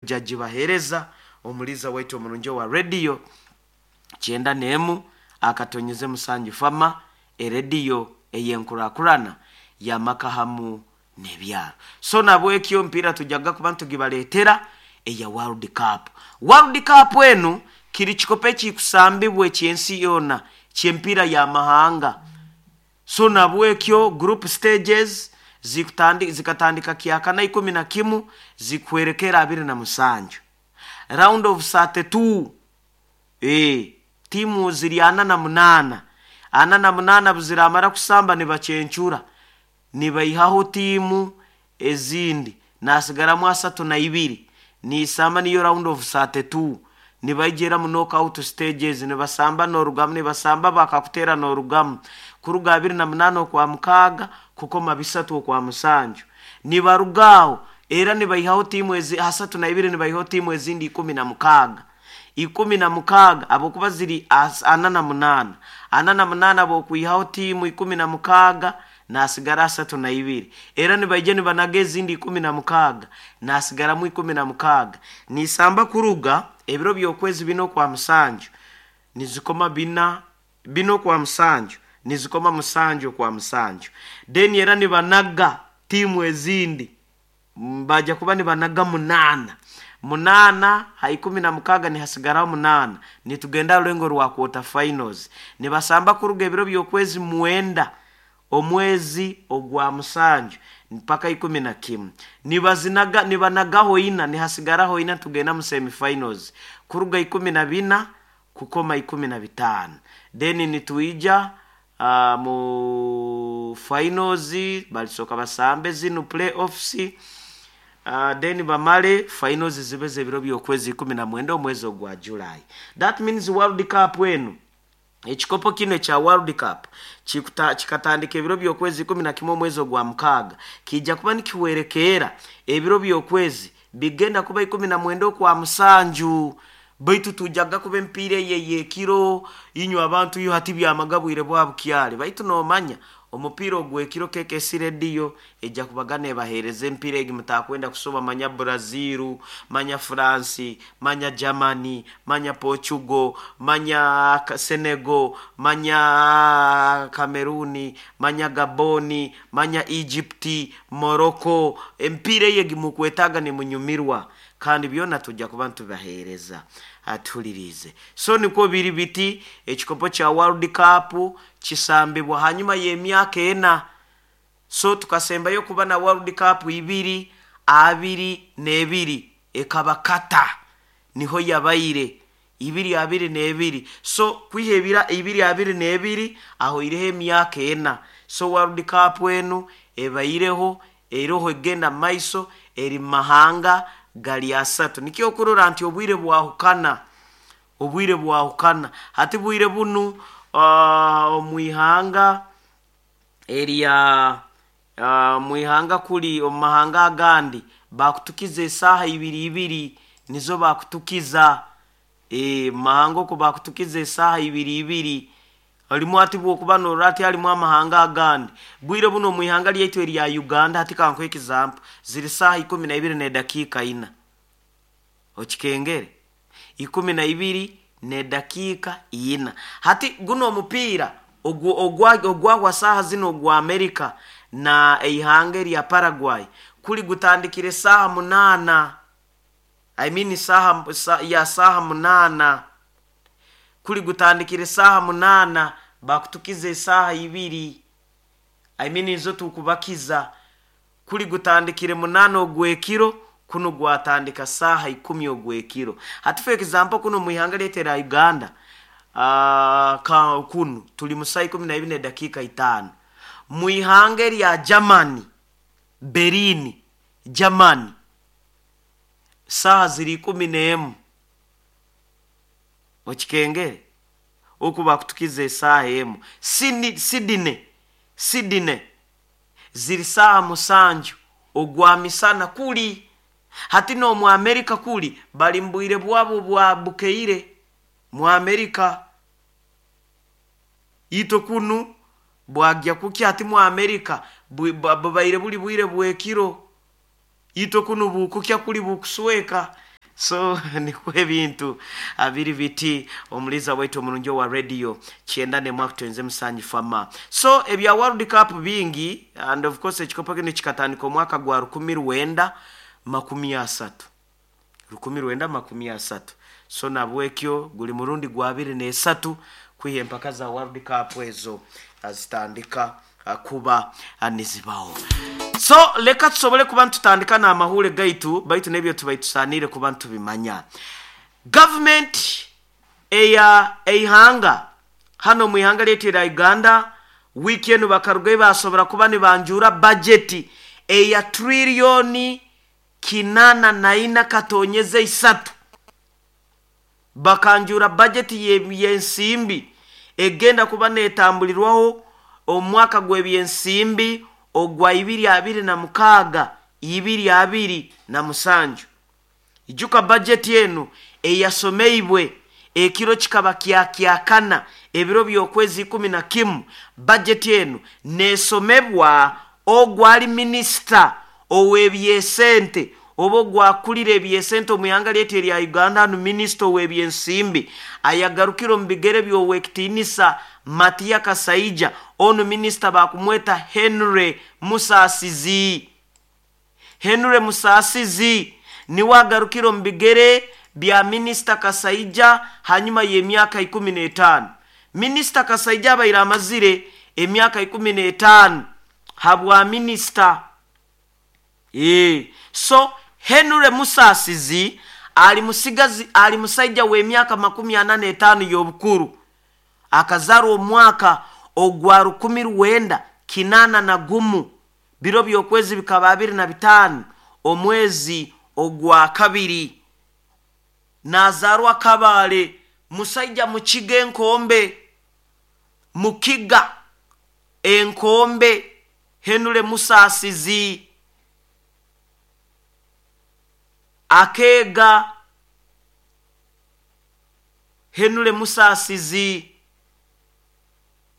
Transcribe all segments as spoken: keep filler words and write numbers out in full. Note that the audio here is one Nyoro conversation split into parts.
Jagibahereza omuliza waitu omurungi wa rediyo kyenda n'emu akatonyeze musanju fama, erediyo ey'enkurakurana y'amaka hamu n'ebyaro. So nabwekyo mpira tujaga kuba ntugibaleetera eya World Cup. World Cup enu kiri kikopo ekikusambibwa eky'ensi yoona ky'empiira y'amahanga. So nabwekyo group stages zikutandi, zikatandika kyakana ikumi na kimu zikuhwerekera abiri na musanju. Round of thirty-two, eh, timu ziri ana na munaana, ana na munaana buziramara kusamba nibacencura, nibaihaho timu ezindi, nasigaramu asatu na ibiri, niisamba niyo round of thirty-two. Nibaijera mu knockout stages, nibasamba n'orugamu, nibasamba bakakutera n'orugamu kuruga abiri na munaana okwa mukaaga kukoma bisatu okwa musanju. Nibarugaho era nibaihaho timu ezi asatu na ibiri, nibaihaho timu ezindi ikumi na mukaaga, ikumi na mukaaga abokuba ziri as, ana na munaana, ana na munaana bokwihaho timu ikumi na mukaaga nasigara asatu na ibiri, era nibaija nibanaga ezindi ikumi na mukaaga nasigaramu ikumi na mukaaga. Nisamba kuruga ebiro by'okwezi bina okwa musanju nizikoma bina, bina okwa musanju nizikoma musanju okwa musanju. Then era nibanaga timu ezindi, baja kuba nibanaga munaana, munaana ha ikumi na mukaaga nihasigaraho munaana, nitugenda rulengo rwa quarter finals. Nibasamba kuruga ebiro by'okwezi mwenda omwezi ogwa musanju mpaka ikumi na kimu, nibazinaga nibanagaho ina, nihasigaraho ina, tugenda mu semifinals kuruga ikumi na bina kukoma ikumi na bitaano. Then nituija uh, mu finals balisoka basambe zinu playoffs, uh, then bamale finals zibe ebiro by'okwezi ikumi na mwenda omwezi ogwa July. That means World Cup enu, ekikopo kino ekya World Cup kikuta, kikatandika ebiro by'okwezi ikumi na kimwe omwezi ogwa mukaaga, kijja kuba nikiwerekeera ebiro by'okwezi bigenda kuba ikumi na mwenda okwa musanju. Baitu tujaga kuba empiira eye y'ekiro, inywe abantu yo hati byamagabwire bwa bukyale, baitu nomanya omupiira ogw'ekiro K K C rediyo ejja kubaga nebaheereza empiira egi mutakwenda kusoba, manya Brazil, manya France, manya Germany, manya Portugal, manya Senegal, manya Cameroon, manya Gabon, manya Egypt, Morocco. Empiira egi mukwetaga nimunyumirwa, kandi byona tujja kuba ntubaheereza atulirize. So niko biri biti ekikopo kya World Cup kisambibwa hanyuma y'emyaka ena. So tukasembayo kuba na World Cup ibiri abiri n'ebiri ekaba kata niho yabaire ibiri abiri n'ebiri. So kwihebira ibiri abiri n'ebiri aho ireho emyaka ena. So World Cup enu ebaireho eroho egenda maiso eri mahanga gali asatu. Nikyo okurora nti obwire bwahukana, obwire bwahukana hati bwire bunu uh, omwihanga erya uh, mwihanga kuli omu mahanga agandi bakutukiza esaaha ibiri ibiri nizo bakutukiza. E, mahanga oko bakutukiza esaaha ibiri ibiri alimu ati bwokuba norora ati alimu amahanga agandi. Bwire buno omwihanga lyaitu erya Uganda hati kankuhe example ziri saaha ikumi na ibiri n'edakiika ina, okikengere ikumi na ibiri n'edakiika ina. Hati guno omupiira ogwagwa saaha zino ogwa Amerika na eihanga erya Paraguay kuli gutandikire saaha munaana, I mean saaha, sa, ya saaha munaana, kuli gutandikire saaha munaana bakutukiza esaaha ibiri, I mean nizo tukubakiza. Kuli gutandikire munaana ogw'ekiro, kuno gwatandika saaha ikumi ogw'ekiro. Hati for example kuno mwihanga lyaitu erya Uganda, uh, ka, kuno tuli mu saa ikumi na ibiri n'edakiika itaano. Mwihanga erya Germany, Berlin, Germany, saaha ziri ikumi n'emu, okikengere oku bakutukiza esaaha emu. Sydney, Sydney ziri saaha musanju ogwa misana kuli. Hati n'omu Amerika kuli bali mbwire bwabo bwa bukeire mu Amerika ito kunu bwagya kukya. Hati mu Amerika bubaire buli bwire bwekiro, ito kunu bukukya kuli bukusweka. So nikwo ebintu abiri biti omuliza waitu omurungi wa radio kyenda nemwaka twenze musanju fama. So ebya World Cup bingi, and of course ekikopo kino kikatandika omwaka gwa rukumi rwenda makumi asatu, rukumi rwenda makumi asatu. So nabwekyo guli murundi gwa abiri n'esatu kwiha empaka za World Cup ezo zitandika kuba nizibaho. So leka tusobole kuba ntutandika n'amahule gaitu, baitu n'ebyo tubaitusanire kuba ntubimanya. Government eya eihanga hano mu ihanga lyetu erya Uganda wiiki enu bakarugayo basobora kuba nibanjura bajeti eya triliyoni kinana na ina katonyeze isatu. Bakanjura bajeti y'ensimbi egenda kuba netambulirwaho omwaka gw'ebyensimbi ogwa ibiri abiri na mukaaga ibiri abiri na musanju. Ijuka bajeti enu eyasomeibwe ekiro kikaba kyakyakana ebiro by'okwezi ikumi na kimu. Bajeti enu nesomebwa ogwali minisita ow'ebyesente oba ogwakulira ebyesente omu ihanga lyaitu erya Uganda, hanu minisita ow'ebyensimbi ayagarukire omu bigere by'owekitiinisa Matia Kasaija. Onu minisita bakumweta Henry Musasizi. Henry Musasizi niwe agarukire omu bigere bya minisita Kasaija hanyuma y'emyaka ikumi n'etaano. Minisita Kasaija abaire amazire emyaka ikumi n'etaano habwa minisita. E, so Henry Musasizi ali musigazi, ali musaija w'emyaka makumi ana n'etaano y'obukuru, akazarwa omwaka ogwa rukumi rwenda kinana na gumu, biro by'okwezi bikaba abiri na bitaano omwezi ogwa kabiri. Nazarwa Kabale, musaija mukiga enkombe, mukiga enkombe Henry Musasizi akeega. Henry Musasizi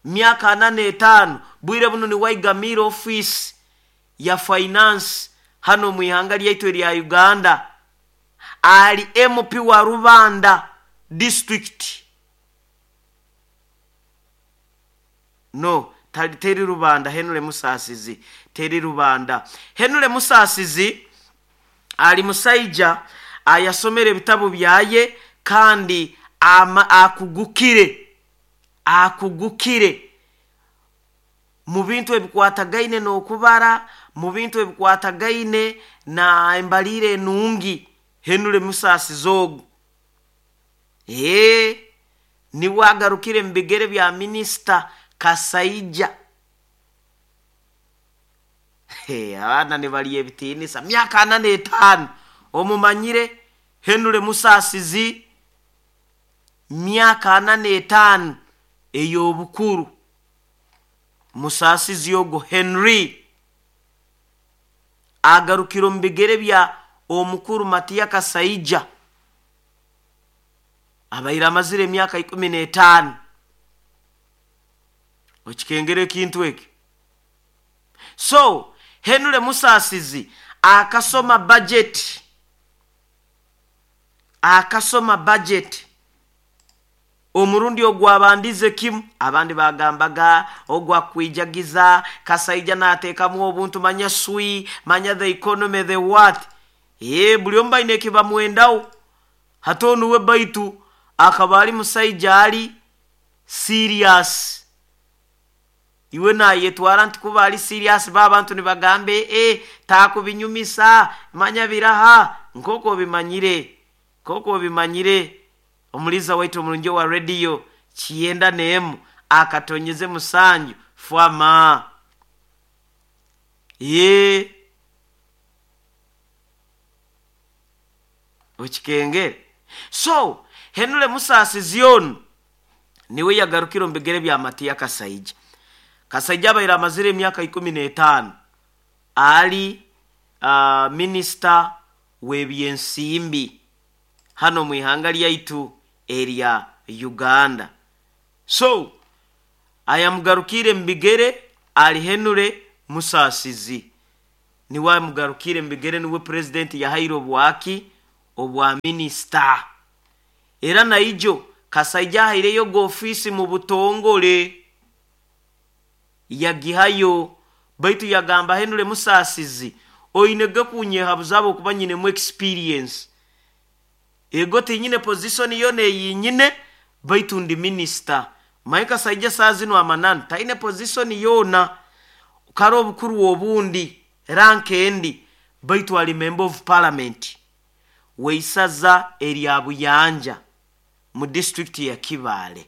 myaka ana n'etaano bwire buno niwaigamira office ya finance hano mu ihanga lyaitu erya Uganda. Ali M P wa Rubanda district. No, teri Rubanda. Henry Musasizi teri Rubanda. Henry Musasizi ali musaija ayasomera ebitabo byaye kandi ama, akugukire akugukire mu bintu ebikwatagaine n'okubara, mu bintu ebikwatagaine na embalire enungi. Henry Musasizi ogu ee niwe agarukire mu bigere bya minisita Kasaija. Hey, abaana nibalya ebitiinisa myaka ana n'etaano omumanyire Henry Musasizi myaka ana n'etaano ey'obukuru. Musasizi ogwo Henry agarukire omu bigere bya omukuru Matia Kasaija abaire amazire emyaka ikumi n'etaano. Okikengera ekintu ekyo. So Henry Musasizi akasoma budget, akasoma budget omurundi ogwabandize kimu. Abandi bagambaga ogwa kwijagiza Kasaija nateekamu obuntu manya swi manya the economy the what. Ye buli omu baine ekibamwendaho. Hati onu we baitu akaba ali musaija ali serious. Iwe nayetwara nti kuba ali serious ba abantu nibagambe e takubinyumisa manya biraha nkoko bimanyire nkoko bimanyire. Omuliza waitu omurungi wa radio kyenda n'emu akatonyeze musanju fwama. Ye okikengere. So Henry Musasizi onu niwe yagarukire omu bigere bya Matia Kasaija. Kasaija abaire amazire emyaka ikumi n'etaano ali uh, minisita w'ebyensimbi hano mu ihanga lyaitu erya Uganda. So ayamugarukire mu bigere ali Henry Musasizi. Niwe amugarukire mu bigere, niwe president yahaire obwaki obwa minisita. Era naijo Kasaija ahaireyo ofiisi mu butongole yagihayo, baitu yagamba Henry Musasizi oinege kunyehabuza okuba nyinemu experience, ego tinyine position yona eyinyine baitu ndi minisita. Mike Kasaija saa zinu amananu taine position yona, kare obukuru obundi rank endi, baitu ali member of parliament weisaza erya Buyanja mu district ya Kibaale.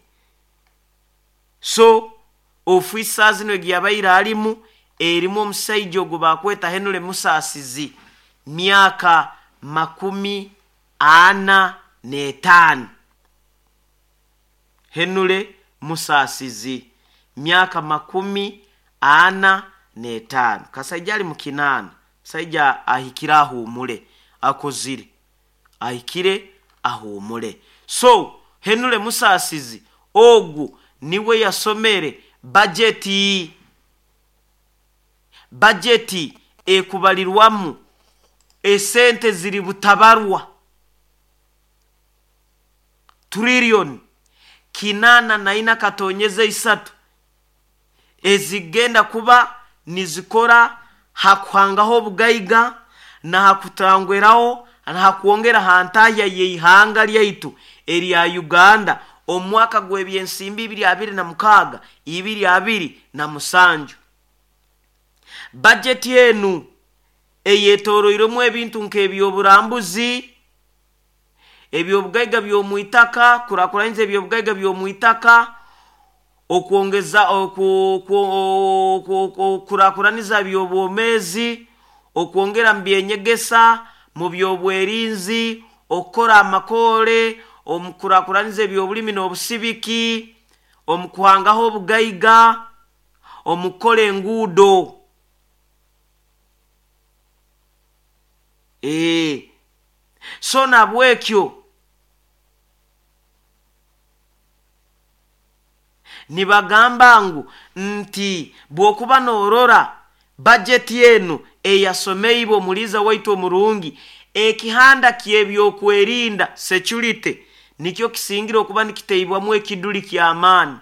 So ofiisi zino egiyabaire alimu erimu omusaija ogwo bakweta Henry Musasizi, myaka makumi ana n'etaano. Henry Musasizi myaka makumi ana n'etaano. Kasaija ali mu kinaana, musaija ahikire ahuumule, akozire ahikire ahuumule. So Henry Musasizi ogu niwe yasomere bajeti, bajeti ekubalirwamu esente ziri butabarwa trillion kinana na ina katonyeza isatu ezigenda kuba nizikora hakuhangaho obugaiga na hakutangweraho na hakwongera hantahya yeihanga lyaitu erya Uganda omwaka gw'ebyensimbi ibiri abiri na mukaaga ibiri abiri na musanju. Bajeti enu eyetoroiremu ebintu nk'ebyoburambuzi, ebyobugaiga by'omwitaka, kurakuraniza ebyobugaiga by'omwitaka, okwongeza kurakuraniza by'obwomezi, okwongera mu byenyegesa, mu byobwerinzi, okukora amakole, omukurakuraniza ebyobulimi n'obusibiki, omukuhangaho obugaiga, omukukora enguudo. Ee, so nabwekyo nibagamba ngu nti bwokuba norora bajeti enu eyasomeibwe omuliza waitu omurungi, ekihanda ky'ebyokwerinda security nikyo kisingira okuba nikiteibwamu ekiduli ky'amaani.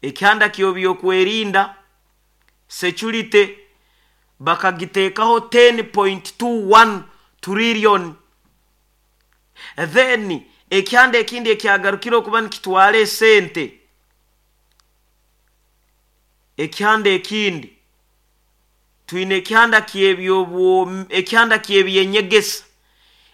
Ekihanda ky'ebyokwerinda security bakagiteekaho ten point two one trillion. Then ekihanda ekindi ekyagarukire okuba nikitwara esente, ekihanda ekindi twine ekihanda ky'ebyobwo, ekihanda ky'ebyenyegesa,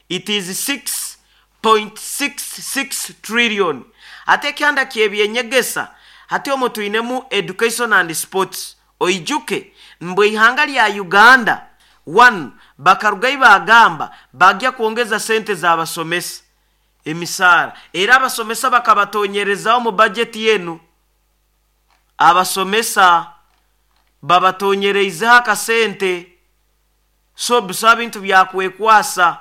it is six point six six trillion. Ate ekihanda ky'ebyenyegesa hati omwo twinemu education and sports. Oijuke mbwe ihanga lya Uganda one bakarugayo bagamba bagya kwongeza sente z'abasomesa emisaara, era abasomesa bakabatonyerezaho mu bajeti yenu, abasomesa babatonyereizeho akasente. So bisaba bintu byakwekwasa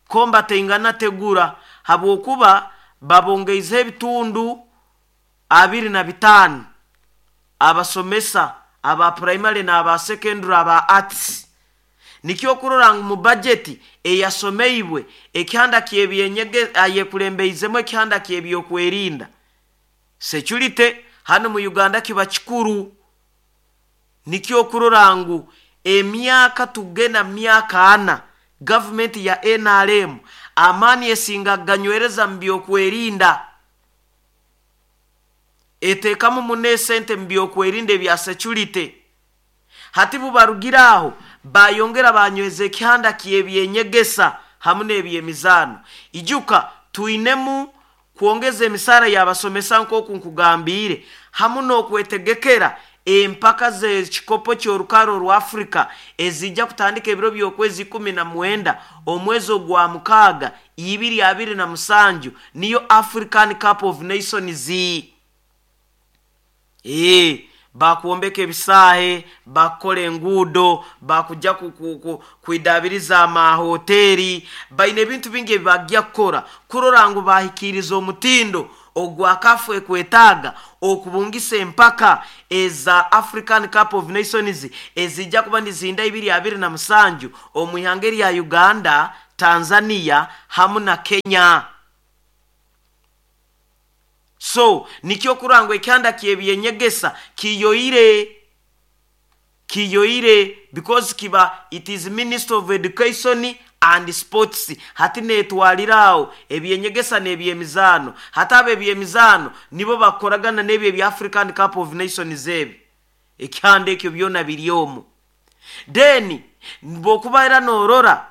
komba teingana tegura, habwokuba babongeizeho ebitundu abiri na bitaano abasomesa aba primary n'aba secondary aba arts. Nikyo okurora ngu mu bajeti eyasomeibwe ekihanda ky'ebyenyege ayekulembeizeemu ekihanda ky'ebyokwerinda security hano mu Uganda kiba kikuru. Nikyo okurora ngu emyaka tugenda myaka ana gavumenti ya N R M amaani esinga ganywereza mu byokwerinda, eteekamu muno esente mu byokwerinda ebya security. Hati bubarugira aho bayongera banyweza ekihanda ky'ebyenyegesa hamu n'ebyemizaano. Ijuka twinemu kwongeza emisaara y'abasomesa nk'oku nkugambiire, hamu n'okwetegekera empaka z'ekikopo ky'orukaro rwa Afrika ezijja kutandika ebiro by'okwezi ikumi na mwenda omwezi ogwa mukaaga ibiri abiri na musanju, niyo African Cup of Nations. Ee, bakwombeka ebisaahe, bakukora enguudo, bakujja kwidabiriza amahoteri, baine ebintu bingi ebibajja kukora kurora ngu bahikiiriza omutindo ogwa kafu ekwetaaga okubungisa empaka eza African Cup of Nations ezijja kuba nizinda ibiri abiri na musanju omu ihanga erya Uganda Tanzania hamu na Kenya. So nikyo kurangwa ekyanda ky'ebyenyegesa kiyoire kiyoire because kiba it is Minister of Education and Sports. Hati netwalirawo ebyenyegesa n'ebyemizaano. Hati abo ebyemizaano nibo bakoragana n'ebyo ebya African Cup of Nations, ebi ekyanda ekyo byona biri omwo. Then bwokuba era norora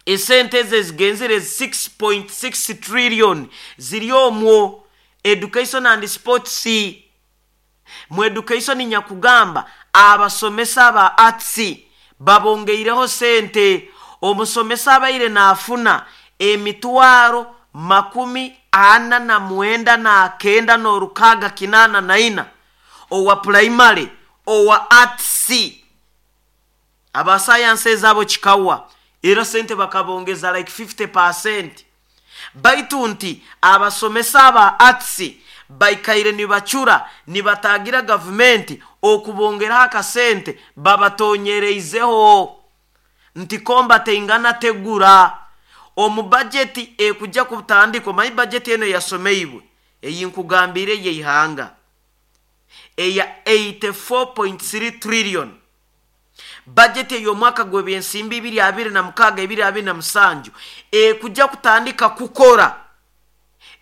esente ezo ezigenzere six point six trillion ziri omwo education and sports. Mu education nyakugamba abasomesa ba arts babongeireho sente. Omusomesa abaire naafuna emitwaro makumi ana na mwenda na kenda n'orukaga kinana na ina owa primary, owa arts, aba science ezabo kikawa era sente bakabongeza like fifty percent. Baitu nti abasomesa aba arts baikaire nibacura nibatagira gavumenti okubongeraho akasente, babatonyereizeho nti komba teingana tegura. Omu bajeti ekujja kutandika, omanyi bajeti eno yasomeibwe eyi nkugambire yeihanga eya eighty-four point three trillion, bajeti ey'omwaka gw'ebyensimbi ibiri abiri na mukaaga ibiri abiri na musanju ekujja kutandika kukora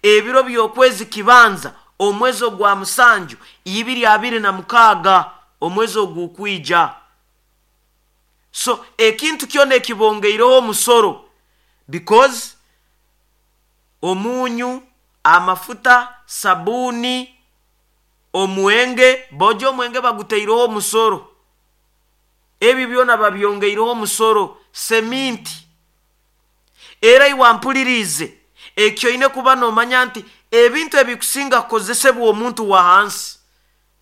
ebiro by'okwezi kibanza omwezi ogwa musanju ibiri abiri na mukaaga, omwezi ogukwija. So ekintu kyona ekibongeireho omusoro, because omunyu, amafuta, sabuuni, omwenge, bojo omwenge baguteireho omusoro, ebyo byona babyongeireho omusoro, seminti era. Iwampulirize, ekyo oine kuba nomanya nti ebintu ebikusinga kukozesebwa omuntu wa hansi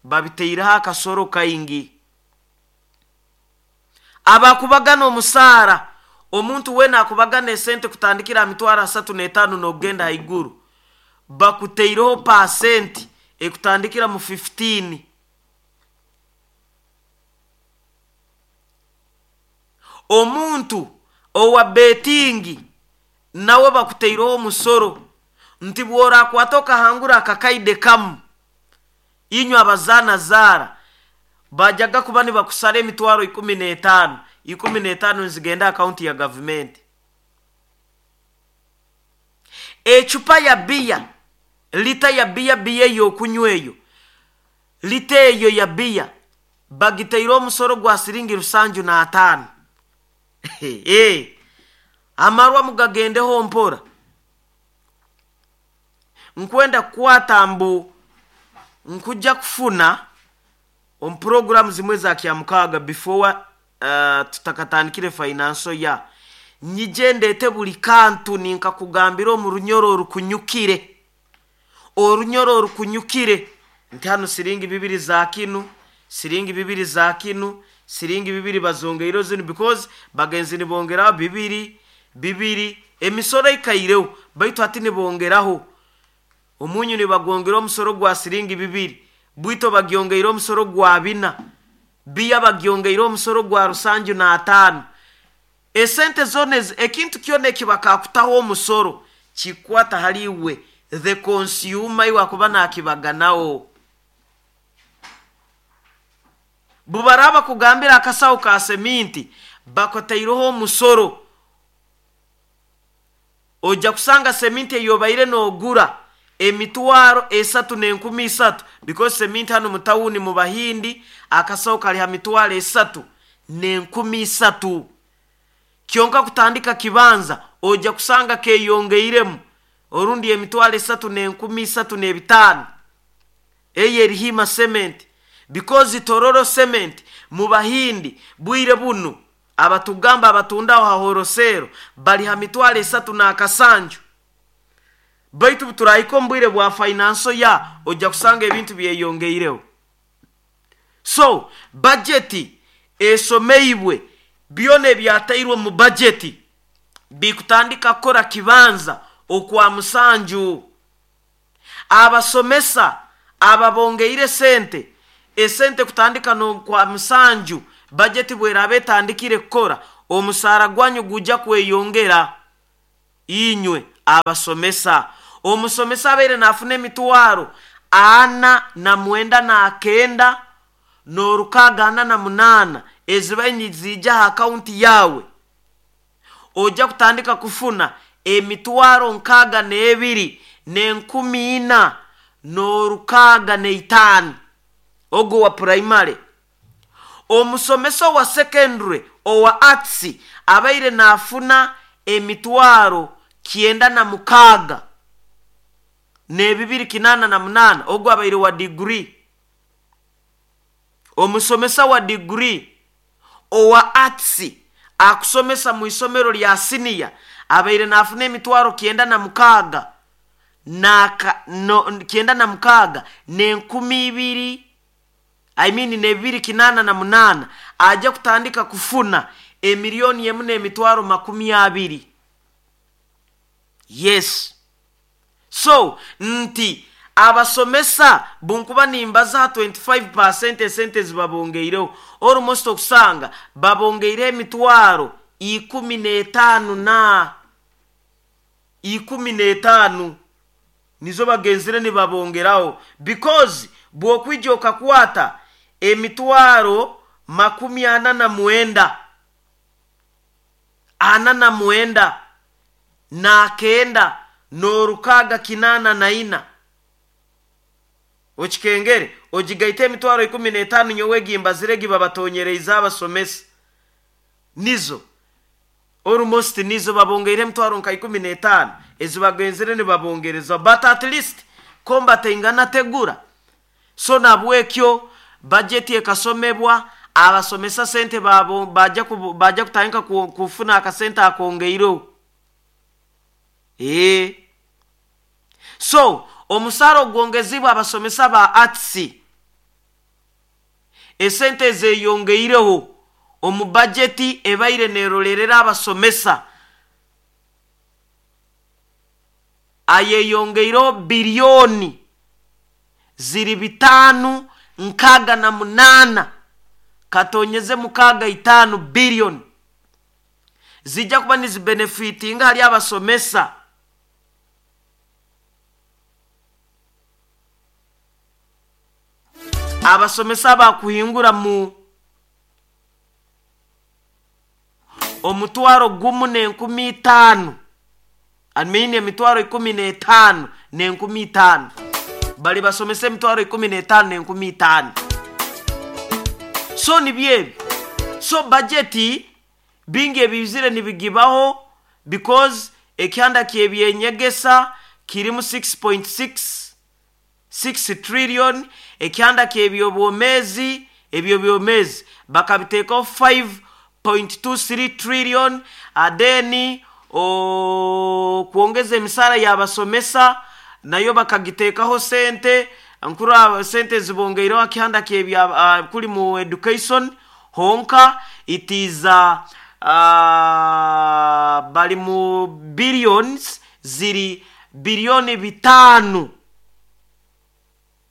babiteireho akasoro kaingi. Abakubagana omusaara, omuntu wena akubagana esente kutandikira ha mitwaro asatu n'etaano n'okugenda haiguru, bakuteireho pasenti ekutandikira mu fifteen. Omuntu owa betting nawe bakuteireho omusoro nti bworakwata okahangura akakaide kamu, inywe abazaana zaara bajaga kuba nibakusara emitwaro ikumi n'etaano, ikumi n'etaano nizigenda akaunti ya gavumenti. Ecupa ya biya, lita ya biya, biya ey'okunywa eyo, lita eyo ya biya bagiteire omusoro gwa siringi rusanju n'ataano. Eh, amarwa mugagendeho mpora. Nkwenda kukwata mbu nkujja kufuna omu puroguramu zimwe za kyamukaaga before uh, tutakatandikire financial ya nyije ndete buli kantu ninkakugambira omu runyoro orukunyukire, orunyoro orukunyukire, nti hano siringi bibiri za kinu, siringi bibiri za kinu, siringi bibiri bazongeire zinu, because bagenzi nibongeraho bibiri bibiri. Emisoro ikaireho, baitu hati nibongeraho omunyu, nibagongera omusoro gwa siringi bibiri, bwito bagyongeire omusoro gwa bina, biya bagyongeire omusoro gwa rusanju n'ataano. Esente zona ezi, ekintu kyona ekibakakutaho omusoro kikwata hali iwe the consumer, iwe akuba nakibaganawo. Bubaraba kugambira akasawo ka seminti bakotaireho omusoro, ojja kusanga seminti eyobaire nogura emitwaro esatu n'enkumi isatu, because seminti hano mu tawuni mu Bahindi akasawo kali ha mitwaro esatu n'enkumi isatu. Kyonka kutandika kibanza ojja kusanga keyongeiremu orundi emitwaro esatu n'enkumi isatu n'ebitaano eyo eri Hima Cement, because Tororo Cement mu Bahindi bwire bunu abatugamba abatundaho ha wholesale bali ha mitwaro esatu n'akasanju. Baitu turahika omu bwire bwa financial ya ojja kusanga ebintu byeyongeireho. So bajeti esomeibwe, byona ebyatairwe mu bajeti bikutandika kukora kibanza okwa musanju. Abasomesa ababongeire sente, esente kutandika nokwa musanju, bajeti bweraba etandikire kukora. Omusaara gwanyu gujja kweyongera inywe abasomesa. Omusomesa abaire nafuna emitwaro ana na mwenda na kenda n'orukaga ana na munaana ezibaire nizija ha akaunti yawe, ojja kutandika kufuna emitwaro nkaaga n'ebiri n'enkumi ina n'orukaga n'eitaano ogwo wa primary. Omusomesa owa secondary owa arts abaire nafuna emitwaro kyenda na mukaaga n'ebibiri kinaana na munaana ogwo abaire wa degree. Omusomesa wa degree owa arts akusomesa mu isomero lya senior abaire nafuna emitwaro kyenda na mukaaga naka no, kyenda na mukaaga n'enkumi ibiri, I mean n'ebibiri kinaana na munaana, ajja kutandika kufuna emiliyoni emu n'emitwaro makumi abiri. Yes, so nti abasomesa bunkuba nimbaza twenty-five percent esente zibabongeireho, almost okusanga babongeireho emitwaro ikumi n'etaano na ikumi n'etaano nizo bagenzire nibabongeraho, because bw'okwija okakwata emitwaro makumi ana na mwenda ana na mwenda na kenda n'orukaga kinaana na ina, okikengere ogigaite emitwaro ikumi n'etaano nyowe gimbazire gibabatonyereize abasomesa, nizo almost nizo babongeire emitwaro nka ikumi n'etaano ezibagenzire nibabongereza. But at least kombateingana tegura. So nabwekyo bajeti ekasomebwa, abasomesa sente babo bajja bajja kutandika kufuna akasente akongeireho. ee so omusaara ogwongezibwa abasomesa ba arts, esente ezeyongeireho omu bajeti ebaire nerolerera abasomesa, ayeyongeireho biliyoni ziri bitaano nkaaga na munaana katonyeze mukaaga itaano biliyoni zijja kuba nizibenefitinga hali abasomesa. Abasomesa bakuhingura mu omutwaro gumu n'enkumi itaano, I mean emitwaro ikumi n'etaano n'enkumi itaano, bali basomesa emitwaro ikumi n'etaano n'enkumi itaano. So nibyo, so bajeti bingi ebizire nibigibaho, because ekyanda kyebyenyegesa kirimu six point six six trillion, ekyanda ky'ebyobwomezi ebyo byomezi bakabiteekaho five point two three trillion, adeni kwongeza emisara y'abasomesa nayo bakagiteekaho sente nkuru, sente zibongeireho akihanda kyebya uh, kuli mu education honka it is uh, uh, bali mu billions ziri biliyoni bitaano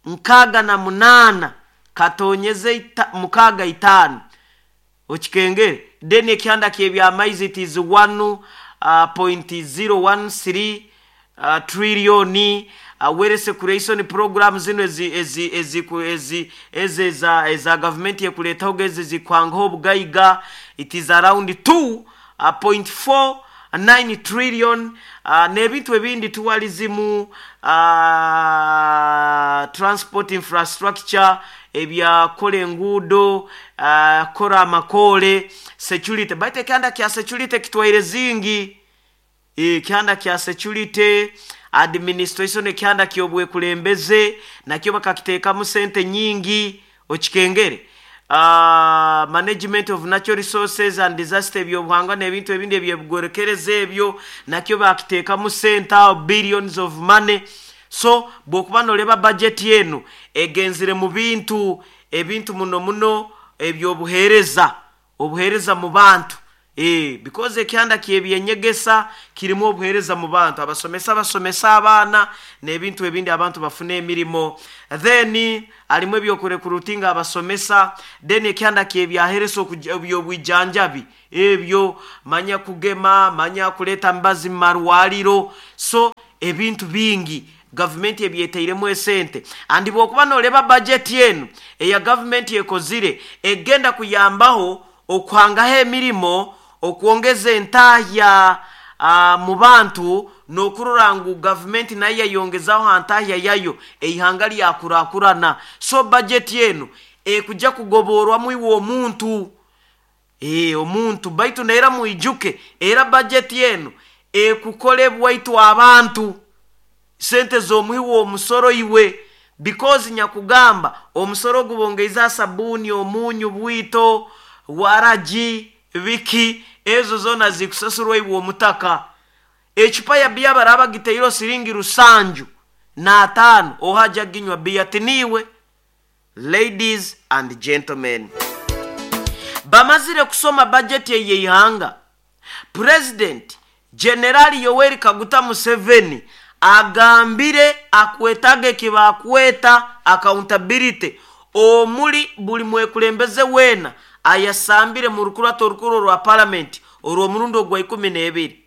nkaaga na munaana katonyeze ita, mukaaga itaano, okikengere. Then ekyanda kyebyamaizi it is one point zero one three uh, trillion. uh, wealth creation program zino ezi ezi ezi ezi ezi eza eza government yekuletaho gezi zikwangaho obugaiga, it is around two point four nine trillion. uh, n'ebintu ebindi tourism, uh, transport infrastructure, ebyakola enguudo, uh, kola amakole, security, baita ekyanda kya security kitwaire zingi, ekyanda kya security administration, ekyanda kyobwekulembeze nakyo bakakiteekamu sente nyingi, okikengere. uh, management of natural resources and disaster, ebyobuhangwa n'ebintu ebindi ebyebugorekereza ebyo nakyo bakiteekamu sente awo, billions of money. So bw'okuba noleba budget eno egenzire mu bintu ebintu muno muno ebyobuheereza, obuheereza mu bantu. Eh, because ekyanda kyebyenyegesa kirimu obuheereza mu bantu, abasomesa basomesa abaana n'ebintu ebindi, abantu bafuna emirimo, then alimu ebyokurekrutinga abasomesa. Then ekyanda kyebyaheresa ebyobwijanjabi, ebyo manya kugema, manya kuleta mbazi mu marwaliro. So ebintu bingi gavumenti ebyetairemu esente. Andi bwokuba noleba bajeti enu eya gavumenti ekozire, egenda kuyambaho okuhangaho emirimo, okwongeza entahya uh, mu bantu, n'okurora ngu gavumenti nayo yayongezaho ha ntahya yayo, eihanga lyakurakurana. So bajeti enu ekujja kugoborwamu iwe omuntu, e, omuntu baitu neera mwijuke, era bajeti enu ekukolebwa itwe abantu, sente z'omuhi w'omusoro iwe, because nyakugamba omusoro gubongeiza sabuni, omunyu, bwito, waragi, biki, ezo zona zikusasurwa iwe omutaka. Ecupa ya biya baraba giteiro siringi rusanju n'ataano, ohaja ginywa biya tiniwe. Ladies and gentlemen, bamazire kusoma bajeti eyeihanga, President Generali Yoweri Kaguta Museveni agambire akwetaga ekibakweta accountability omuli buli mwekulembeze weena ayasambire mu rukurato orukuru rwa parliament orw'omurundi ogwa ikumi n'ebiri.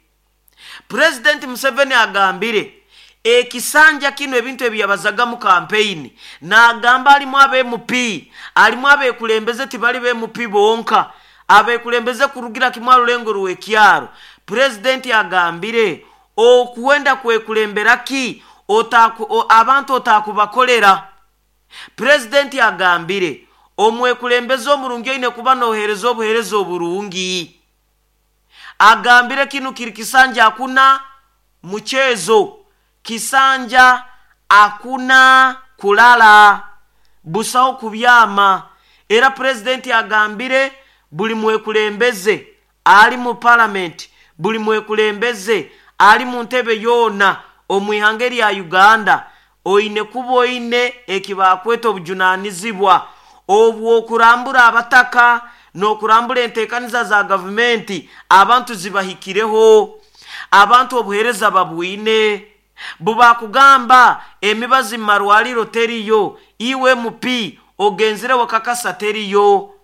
President Museveni agambire ekisanja kino ebintu ebyabazaga mu campaign, n'agamba alimu abe M P, alimu abekulembeze, tibali be M P bonka, abekulembeze kurugira kimwe rulengo rw'ekyaro. President agambire okuwenda kwekulembera ki otaku, o, abantu otakubakolera. President agambire omwekulembeze omurungi oine kuba nohereza obuhereza oburungi. Agambire kinu kiri kisanja hakuna mchezo, kisanja hakuna kulala, busaho kubyama. Era president agambire buli mwekulembeze ali mu parliament, buli mwekulembeze ali mu ntebe yona omwihanga lya Uganda, oine kuba oine ekibakweta obujunanizibwa obwokurambura abataka n'okurambura enteekaniza za gavumenti, abantu zibahikireho, abantu obuheereza babwine. Bubakugamba emibazi mu marwaliro teriyo, iwe M P ogenzire wakakasa teriyo,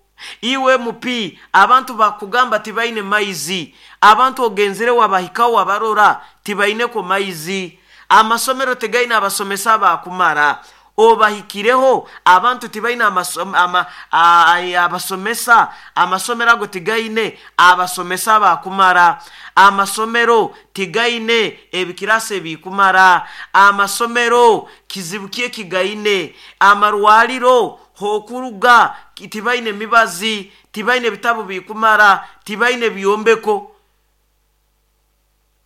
iwe M P abantu bakugamba tibaine maizi, abantu ogenzire wabahikaho wabarora tibaineko maizi, amasomero tegaine abasomesa bakumara, obahikireho abantu tibaine amasom-, ama-, a-, abasomesa, amasomero ago tigaine abasomesa bakumara, amasomero tigaine ebikirase bikumara, amasomero kizibu kye kigaine, amarwaliro hokuruga tibaine mibazi, tibaine bitabu bikumara, tibaine byombeko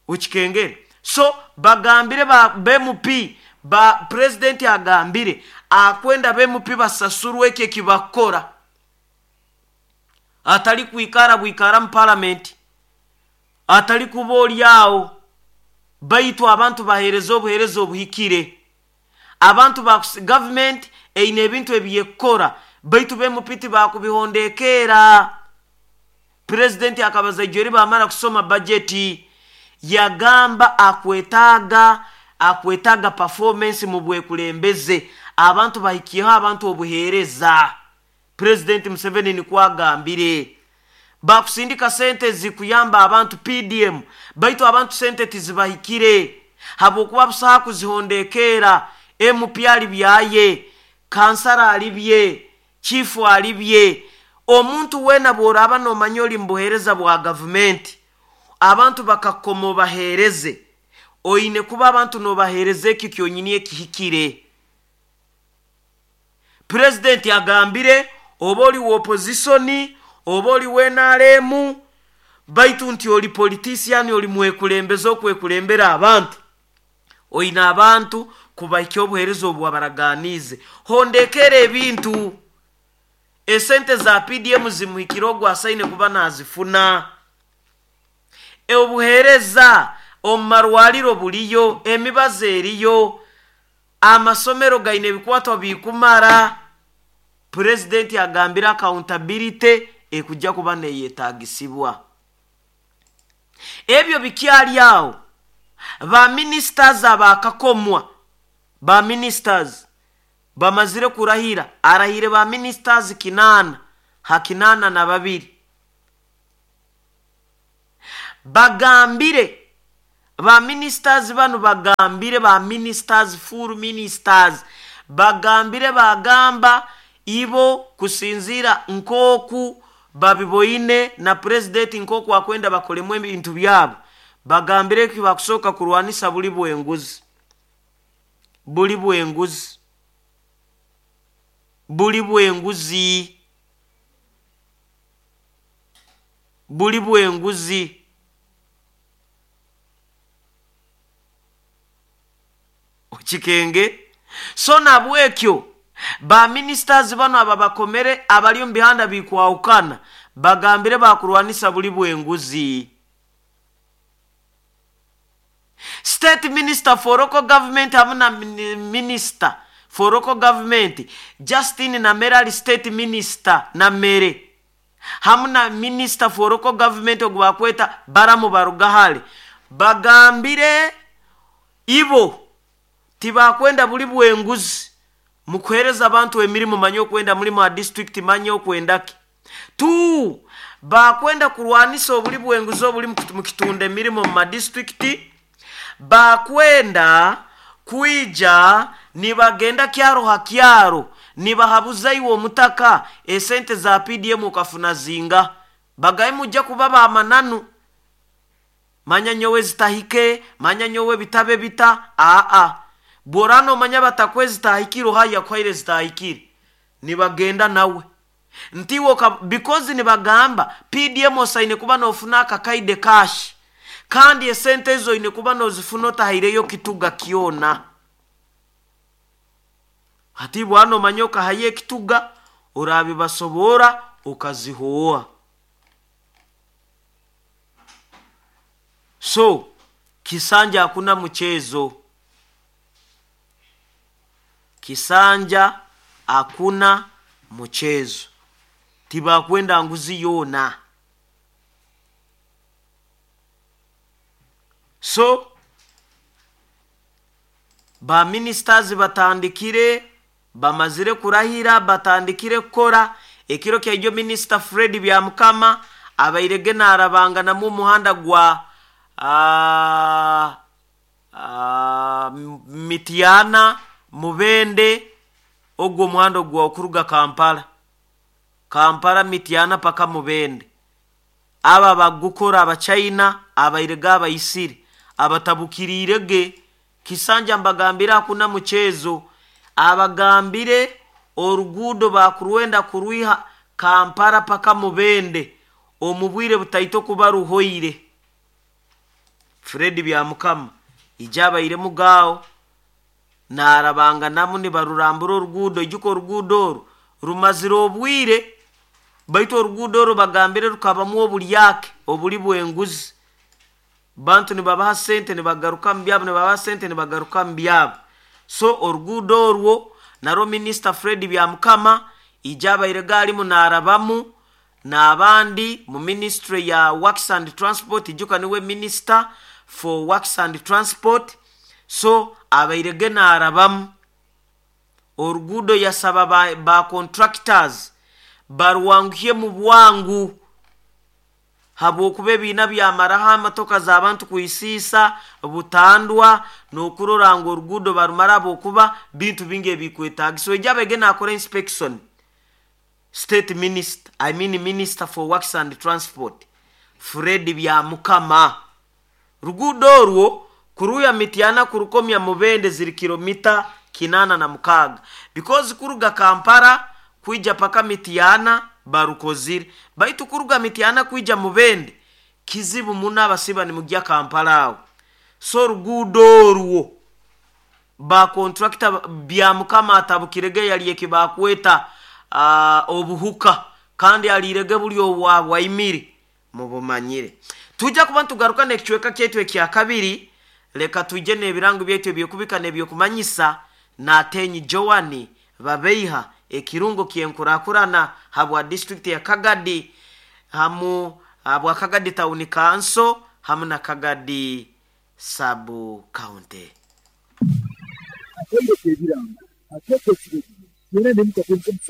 ukikengere. So bagambire ba M P, ba president agambire akwenda be M P basasurwe ekyo kibakora, atali kwikara bwikara mu parliament, atali kuba olyao, baitu abantu bahereza obuhereza obuhikire. Abantu ba government eine ebintu ebyekora, baitu be M P tibakubihondekera. President akabaza ijeri bamara kusoma budget, yagamba akwetaga akwetaga performance mu bwekulembeze, abantu bahikiyeho abantu obuhereza. President Museveni nikwagambire bakusindika sente zikuyamba abantu P D M, baitu abantu sente tizibahikire habwokuba busaha kuzihondekera. M P ali byaye, kansara ali bye, chifu ali bye. Omuntu wena bworaba nomanya oli mbuhereza bwa government, abantu bakakoma obahereze, oine kuba abantu nobahereze ekyo kyonyini ekihikire. President agambire oba oli opposition, oba oli we N R M, baitu nti oli politician, oli mwekulembeze okwekulembera abantu, oine abantu kubaikya obuhereza obwabaraganize. Hondekere ebintu esente za P D M zimuhikire ogwo asaine kuba nazifuna. Obuhereza omu marwaliro buliyo, emibazi eriyo, amasomero gaine ebikwatwa bikumara. President agambira accountability ekujja kuba neyetagisibwa. Ebyo bikyali awo, ba ministers abakakomwa, ba ministers bamazire kurahira, arahire ba ministers kinana ha kinana na babiri. Bagambire ba ministers bano, bagambire ba ministers, full ministers, bagambire bagamba ibo kusinzira nkoku babiboine na president nkoku akwenda bakolemu ebintu byabo. Bagambire ki bakusoka kurwanisa buli bwenguzi, buli bwenguzi, buli bwenguzi, buli bwenguzi. Okikenge. So nabwekyo ba ministers bano ababakomere abali mu bihanda bikwawukana bagambire bakurwanisa buli bwenguzi. State minister for local government hamuna minister for local government Justin Namere ali state minister Namere hamuna minister for local government ogwakweta Baramu Barugahale bagambire ibo tibakwenda buli bwenguzi mukuhereza abantu emirimu manyo kwenda mulimu wa district manyo kwendaki tu bakwenda kurwanisa obuli bwenguzi obuli mu kitunda emirimu mu district. Bakwenda kuija nibagenda kyaro ha kyaro nibahabuza iwe omutaka esente za P D M ukafuna zinga bagaye mujja kuba ba mananu manya nyowe zitahike manya nyowe bitabe bita a a borano manya batakwe zitahikiro haya kwaire zitahikire nibagenda nawe ntiwo because nibagamba P D M osaine kuba nofuna akakaide cash kandi esente ezo ine kuba nozifuna otahireyo kituga kiona. Hati bwano manyoka haye kituga orabibasobora ukazihoa. So Kisanja hakuna mchezo, Kisanja hakuna mchezo, tibakwenda nguzi yona. So ba ministers batandikire bamazire kurahira batandikire kukora. Ekiro kya minister Fred Byamukama abairege narabanga namu muhanda gwa a, a, Mitiana Mubende ogwo muhanda gwa okuruga Kampala Kampala Mitiana paka Mubende. Aba bagukora abachina abairega abayisiri abatabukirirege. Kisanja mbagambira hakuna mchezo, abagambire orugudo bakurwenda kuruiha Kampala paka Mubende omubwire butaito kuba ruhoire. Fred Byamukama ijaba ire mugao narabanga namu ni barurambura orugudo ijuko orugudo oru rumazire obwire baitu orugudo oru bagambire rukabamu obulyake obuli bwenguzi. Bantu nibabaha sente nibagaruka mu byabo nibabaha sente nibagaruka mu byabo. So orugudo orwo naro minister Fred Byamukama ijaba iregali munarabamu n'abandi mu ministry ya Works and Transport ijuka niwe minister for Works and Transport. So abairege narabamu orugudo yasaba ba, ba contractors barwanguye mu bwangu habwokuba ebiina byamaraho amatoka z'abantu kuisiisa butandwa n'okurora ngu orugudo barumara habwokuba bintu bingi ebikwetaagisa. Ejaba ege nakora inspection state minister I mean minister for Works and Transport Fred Byamukama rugudo orwo kuruya Mitiana kurukomya Mubende ziri kilomita kinana na mukaga because kuruga Kampala kuija paka Mitiana barukozire baitu kuruga Mitiana kuija Mubende kizibu muna abasiba ni mujya Kampala awo. So rugudo orwo ba contractor Byamukama atabukirege yali ekibakweta uh, obuhuka kandi alirege buli obwa waimiri mubumanyire. Tujja kuba tugaruka n'ekicweka kyaitu ekya kabiri. Leka tujje n'ebirango byaitu ebyokubika n'ebyokumanyisa n'atenyi Joani babeiha ekirungo kyenkurakurana habwa district ya Kagadi hamu habwa Kagadi town council hamu na Kagadi sub county. Akaire k'ebirango akeeko ekiro kyenda n'emu katongo musanju.